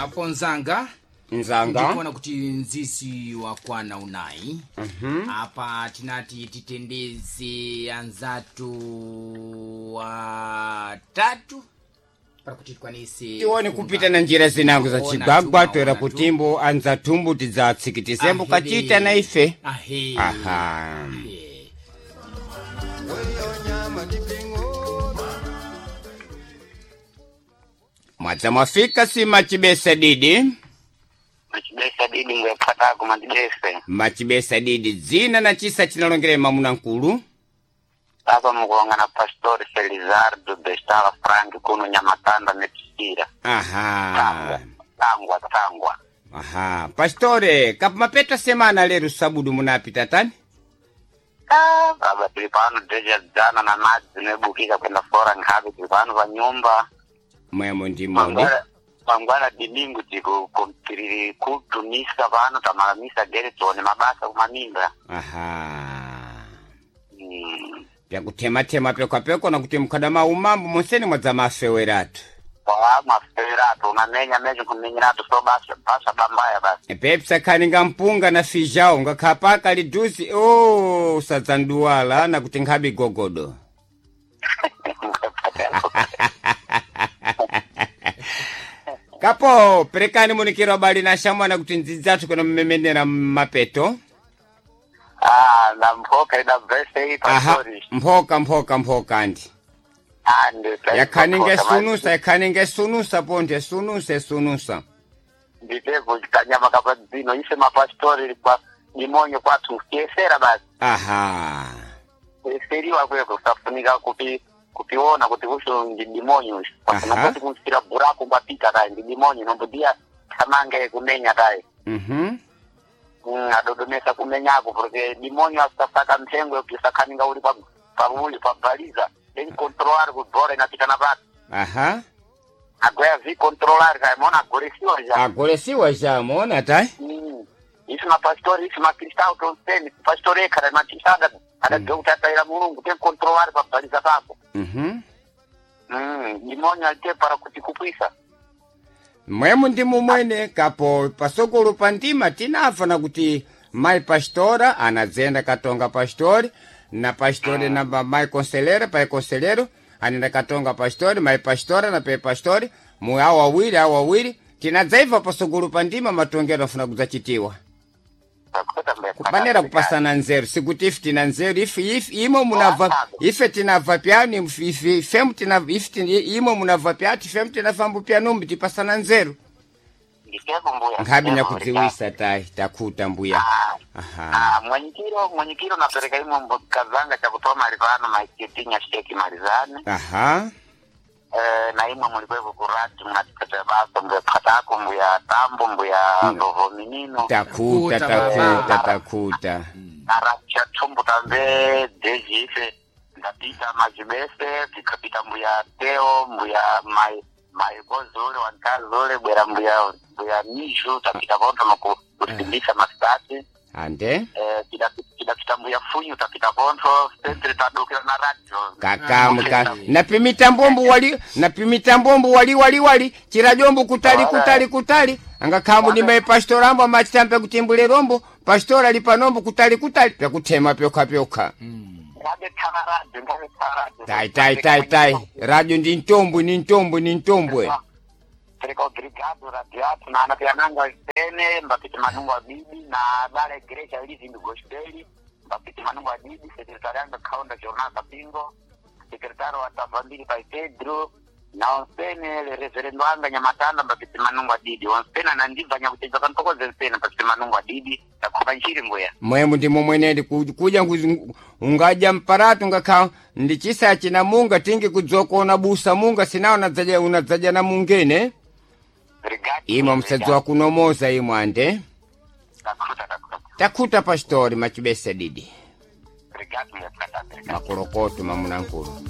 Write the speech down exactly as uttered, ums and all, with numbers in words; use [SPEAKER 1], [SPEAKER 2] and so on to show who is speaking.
[SPEAKER 1] Apo nzanga
[SPEAKER 2] Nzanga.
[SPEAKER 1] Ndikuona kuti nzizi wakwana unayi. Apa tinati titendeze anzatu watatu pakuti tikwanise
[SPEAKER 2] Tione
[SPEAKER 1] kunga.
[SPEAKER 2] kupita na njira zinango za
[SPEAKER 1] Ona
[SPEAKER 2] chigwagwa
[SPEAKER 1] tu,
[SPEAKER 2] toera
[SPEAKER 1] ona tu.
[SPEAKER 2] kutimbo anza tumbu tidzatsikitizembo
[SPEAKER 1] Ahede.
[SPEAKER 2] kachita na ife.
[SPEAKER 1] Ahe.
[SPEAKER 2] Aha.
[SPEAKER 1] Ahe.
[SPEAKER 2] Mwadza mwafika si machibesa didi.
[SPEAKER 3] Machibesa didi ngwephatako machibese.
[SPEAKER 2] Machibesa didi dzina na chisa chinalongera mamuna nkulu.
[SPEAKER 3] Apa mukulongana Pastor Felizardo Bestala Frank kuno Nyamatanda Metisira.
[SPEAKER 2] Aha.
[SPEAKER 3] Tangwa, tangwa, tangwa.
[SPEAKER 2] Aha. Pastore, kapumapeta semana lero sabudu munapita tani?
[SPEAKER 3] Ah, baba tili pano deja dzana na madzi zinebukika kwenda fora nkhabe tili pano pa nyumba.
[SPEAKER 2] Mwemo ndimoni.
[SPEAKER 3] Mangwana mangwana dimingu tiku tili kutumisa pano tamalamisa gere tione mabasa kumaminda.
[SPEAKER 2] Aha.
[SPEAKER 3] Mm.
[SPEAKER 2] Pyakuthemathema pekwapekwa na kuti mkhadama umambo monseni mwadza mafeweratu.
[SPEAKER 3] Kwa maferato unamenya mecho kumenyerato so basa basa bambaya basi.
[SPEAKER 2] Pepsa khani mpunga na fijao ngakhapaka liduzi o usadzanduwala na kuti nkhabi gogodo. Kapo perekani munikiro abali na shamwana kuti ndzidzathu kuno mmemenera mmapeto.
[SPEAKER 3] Ah, na mphoka ida verse iyi
[SPEAKER 2] Aha,
[SPEAKER 3] pastori.
[SPEAKER 2] mphoka mphoka mphoka andi.
[SPEAKER 3] Ande
[SPEAKER 2] Yakhani ngesunusa yakhani ngesunusa ponde sunusa esunusa.
[SPEAKER 3] Nditepo kanyama kapa dzino ise mapastori kwa dimonyo kwathu kuyesera basi.
[SPEAKER 2] Aha.
[SPEAKER 3] Kuyeseriwa kweko kusafunika kupi kupiona kuti usho ndi dimonyo usho. Pasina
[SPEAKER 2] Aha.
[SPEAKER 3] kuti kumfira buraku mbapita kayi ndi dimonyo nombodia thamange kumenya kayi.
[SPEAKER 2] Mhm.
[SPEAKER 3] Mm, adodomesa kumenyako porque dimonyo asasaka mphengo yokusakhaninga uli pa pauli pabaliza then controlar kubora inapita na pati.
[SPEAKER 2] Aha.
[SPEAKER 3] Agwaya vi controlar kayi mona agoresiwa ja.
[SPEAKER 2] Agolesiwa jamona tai.
[SPEAKER 3] Mm. Isi mapastori isi makristau tonseni pastori ekhala matisada adabva kuti ataira mulungu tenkontrolari pabhaliza papo.
[SPEAKER 2] Mhm.
[SPEAKER 3] Mm, dimonyo alite para kuti kupwisa.
[SPEAKER 2] Mwemu ndi mumwene kapo pasokolo pa ndima tinafana kuti mai pastora anadzenda katonga pastori na pastori na ba- mai conselheiro pai conselheiro anenda katonga pastori mai pastora na pai pastori mu awo awiri awo awiri tinadzaiva pasokolo pa ndima matongero afuna kudzachitiwa kupanera kupasana nzeru sikuti ife tina nzeru ife ife imo munabva ife tinabva pyani ife ifemu tina ife tin- imo munabva pyati ifemu tinafambo pyanumbi tipasana nzeru.
[SPEAKER 3] Nditepo mbuya.
[SPEAKER 2] Nkhabi nyakudziwisa tai takhuta mbuya. Aha.
[SPEAKER 3] Ah, mwenyikiro mwenyikiro napereka imwe mbukazanga chakutoa mali pano maikitinya sheki malizane.
[SPEAKER 2] Aha.
[SPEAKER 3] Eh, na imwe mulikwepo kurati mnatipata basa mbuya patako mbuya tambo mbuya ndovo minino.
[SPEAKER 2] Takhuta
[SPEAKER 1] Takhuta,
[SPEAKER 2] takhuta
[SPEAKER 1] baba.
[SPEAKER 2] takhuta.
[SPEAKER 3] Aracha thumbu tambe deji ife ndapita majibese tikapita mbuya teo mbuya mai maikozole wankazole bwera mbuya mbuya mishu tapita konto noku kusimbisa masitati.
[SPEAKER 2] Ande.
[SPEAKER 3] Eh, tidapita mbuya funyu tapita konto sentre tadokera na radio.
[SPEAKER 2] Kakamu ka napimita mbombo wali napimita mbombo wali wali wali chirajombo kutali kutali kutali angakhambu ni mai pastorambo amachitambe kutimbule rombo pastora lipanombo kutali kutali pyakuthema pyokha pyokha.
[SPEAKER 3] Ngabe thala radio ngabe thala radio.
[SPEAKER 2] Tai tai tai tai radio ndi ntombwe ni ntombwe ni ntombwe.
[SPEAKER 3] Pereka obrigado radio athu na anapiananga sene mbapiti manungu abidi na bala igreja living gospel mbapiti manungu abidi sekretari anga kaunda jornal kapingo sekretari wa tavambili pai Pedro na onsene le reverendo anga nyamatanda mbapiti manungu adidi onsene anandibva nyakutedza pantokoze nsene mbapiti manungu adidi takhupa nchiri mbuya.
[SPEAKER 2] Mwemu ndi momwenedi ku- kuja nguzi- ungadya mparatu ngakha ndi chisa china munga tingi kudzokona busa munga sinawo unadzaja unadzaja na mungene.
[SPEAKER 3] Obrigado.
[SPEAKER 2] Imwe msadzi wa kunomoza imwe ande.
[SPEAKER 3] Takhuta takhuta.
[SPEAKER 2] Takhuta pastori machibesa didi.
[SPEAKER 3] Obrigado mbuya. Obrigado.
[SPEAKER 2] Makolokoto mamunankulu.